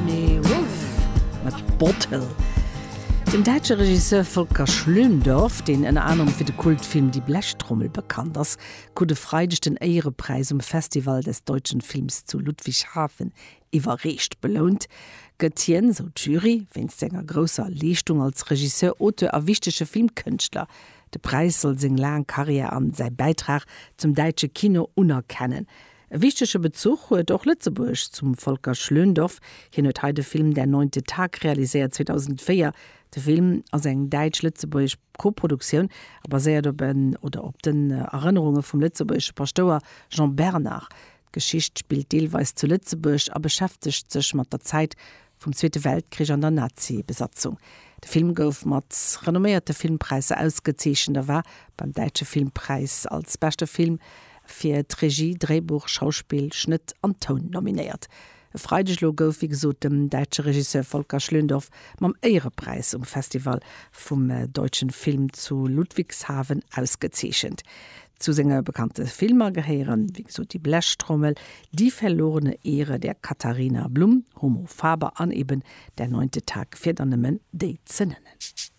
Sammy Wuff mat Bottle. Den däitsche Regisseur Volker Schlöndorff, deen ënner anerem fir de Kultfilm Die Blechtrommel bekannt ass, krut e Freideg den Éierepräis um Festival des deutschen Films zu Ludwigshafen iwwerreecht. Belount gëtt hien, sou d'Jury, wéinst senger grousser Leeschtung als Regisseur, Auteur a wichtege Filmkënschtler. De Präis soll seng laang Karriär an säi Bäitrag zum däitsche Kino unerkennen. E wichtege Bezuch huet och Lëtzebuerg zum Volker Schlöndorff. Hien huet hei de Film Der neunte Tag realiséiert 2004. De Film ass eng däitsch-lëtzebuergesch Koproduktioun a baséiert op en oder op den Erënnerunge vum lëtzebuergesche Paschtouer Jean Bernard. D'Geschicht spillt deelweis zu Lëtzebuerg a beschäftegt sech mat der Zäit vum Zweete Weltkrich an der Nazi-Besatzung. De Film gouf mat renomméierte Filmpräisser ausgezeechent a war beim Däitsche Filmpräis als beschte Film fir d'Regie, Dréibuch, Schauspill, Schnëtt an Toun nominéiert. E Freideg elo gouf wéi gesot dem däitsche Regisseur Volker Schlöndorff mam Éierepräis um Festival vum Deutschen Film zu Ludwigshafen ausgezeechent. Zu senge bekannte Filmer gehéieren, wéi gesot, Die Blechtrommel, Die verlorene Ehre der Katharina Blum, Homo Faber an eben Der neunte Tag, fir der nëmmen déi ze nennen.